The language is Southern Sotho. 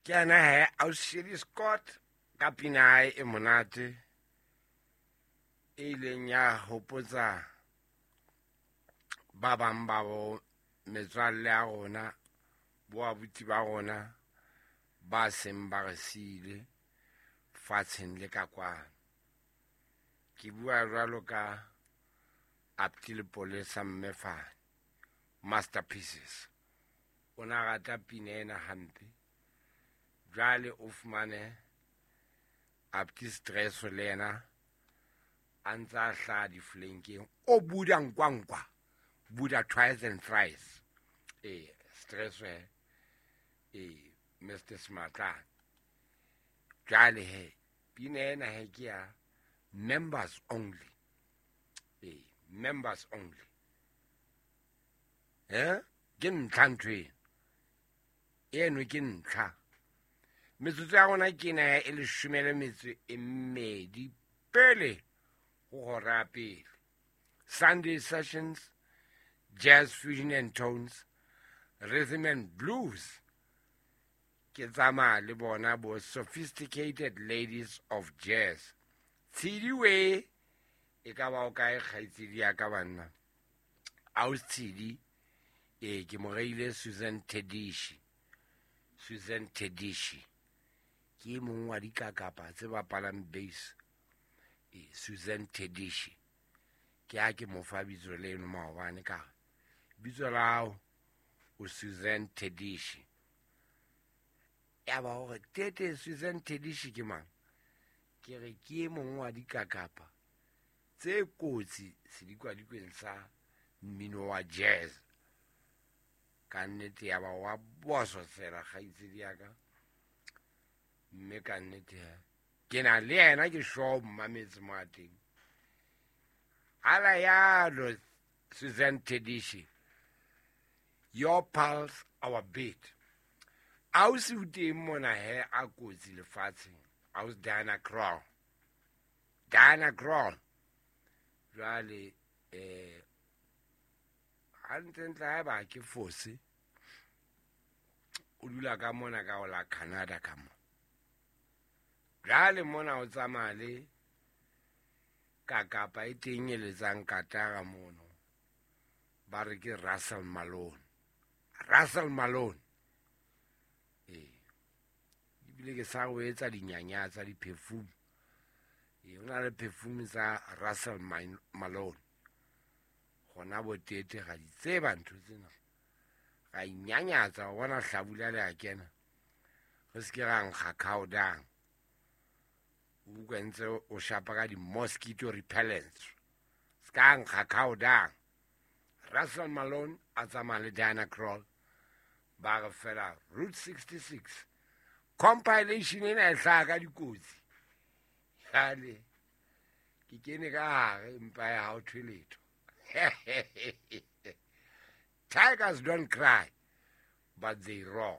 Ke yena he Ausi Scott ka pina ya hae e monate e ileng ya hopotsa ba bang ba bo metswalle ya rona, bo abuti ba rona ba seng ba re siile fatsheng le ka kwano. Ke bua jwalo ka Apti Lepolesa Mmefane, Masterpieces. O na rata pina ena hampe. Jwale o fumane Apti Stress le yena a ntse a hlaha diflenkeng, o buda nkwankwa, buda twice and thrice. Ee, Stress he, ee, Mr. Smatlane. Jwale he pina ena he ke ya members only. Ee, members only. Ke ntlha ntho eno. Eno ke ntlha. Metsotso ya rona ke ena e leshome le metso e mmedi pele ho hora ya pele. Sunday Sessions, Jazz Fusion and Tones, Rhythm and Blues. Ke tsamaya le bona bo Sophisticated Ladies of Jazz. Tshedi we e ka ba o kae kgaitsedi ya ka banna? Ausi Tshedi, ee, ke mo reile Susan Tedishi. Susan Tedishi ke e mong wa dikakapa tse bapalang bass. Ee, Susan Tedishi ke ha ke mo fa bitso leno maobane, ka re bitso la hao o Susan Tedishi. Ya ba hore tete Susan Tedishi ke mang? Ke re ke e mong wa dikakapa tse kotsi sedikwadikweng sa mmino wa jazz. Ka nnete ya ba wa bososela kgaitsedi ya ka, mme ka nnete he ke na le yena ke sure mmametse mo a teng. Ala yalo Susan Tedishi, your pulse our beat. Ausi o teng mona he a kotsi lefatsheng, ausi Diana Krall. Diana Krall. Jwale hantlentle ha eba ke fose, o dula ka mona ka ho la Canada ka mona. Jwale mona o tsamaya le kakapa e teng e letsang katara mono, ba re ke Russell Malone. Russell Malone. Ee, ebile ke sa o etsa dinyanya tsa di-perfume. Ee, ho na le perfume tsa Russell Malone. Gona bo tete ga di tseba ntho tsena. Ra inyanyatsa, o bona hlabula le a kena. Re se ke ra nkga cow dung. O utlwa ntse o shapa ka di-mosquito repellents. Se ka nkga cow dung. Russell Malone a tsamaya le Diana Krall. Ba re fela Route 66. Compilation ena e hlaha ka dikotsi. Jwale ke kene ka hare empa ya ha o thwe letho. Tigers don't cry, but they roar.